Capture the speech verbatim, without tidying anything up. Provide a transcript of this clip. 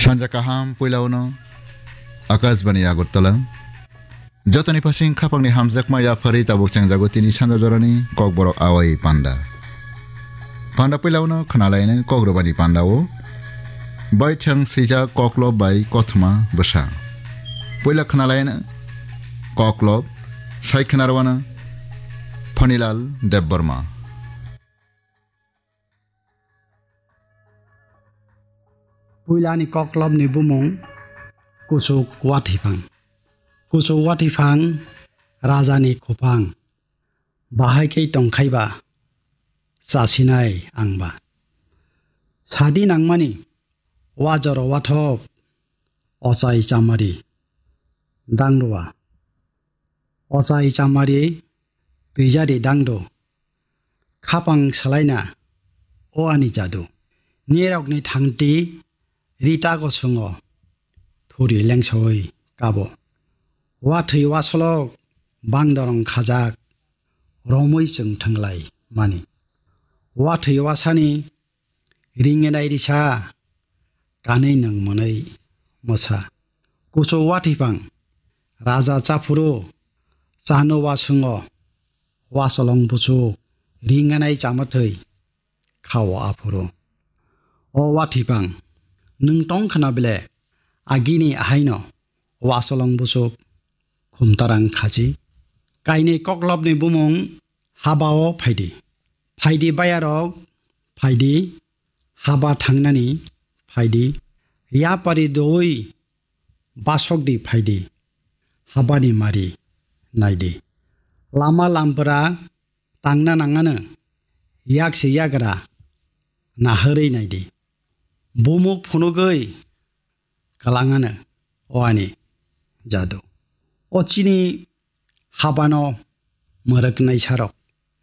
Sanja kaham puilauno Akashbani Agartala. Jotoni phasing khapangni hamjakma yapharwi tabuk chengjago tini sanja jorani Kokborok Awai Panda. Panda puilauno khnalaino Kokrwbani Pandao baithang swijak Koklob bai Kothoma Bwsa. Puila khnalaino Koklob, sai khnarwano Phanilal Debbarma. Puilani Koklopni bumung Kuchuk Wathwiphang. Kuchuk Wathwiphang rajani khupang. Bahai khe tongkhaiba chasinai angba. Sadi nangmani wajoro wathok ochai chamari dangrua. Ochai chamari twijadi dangdo. Khapang salaina o ani jadu. Nirokni thangti ritago sungo thuri lengsawi kabo. Wathwi wasolok bangdorong khajak romwi chwng thwnglai mani. Wathwi wasani ringenai risa kanwi nwng mwnwi mwsa. Kuchuk Wathwiphang raja chaphuru chano waswngo wasolong buchuk ringenai chamathwi khao aphuru. O Wathwiphang, nwng tong khna bile agini ahaino wasolong buchuk khumtarang khachi. Kainwi Koklopni bumung habao phaidi. Phaidi bayarok phaidi, haba thangnani phaidi. Yapari doi basokdi phaidi. Habani mari naidi. Lama lampra tangna nangano yak se yagra naharwi naidi. Bumuk phunugwi kalangano o ani jadu. O chini habano mwrwknai sarok.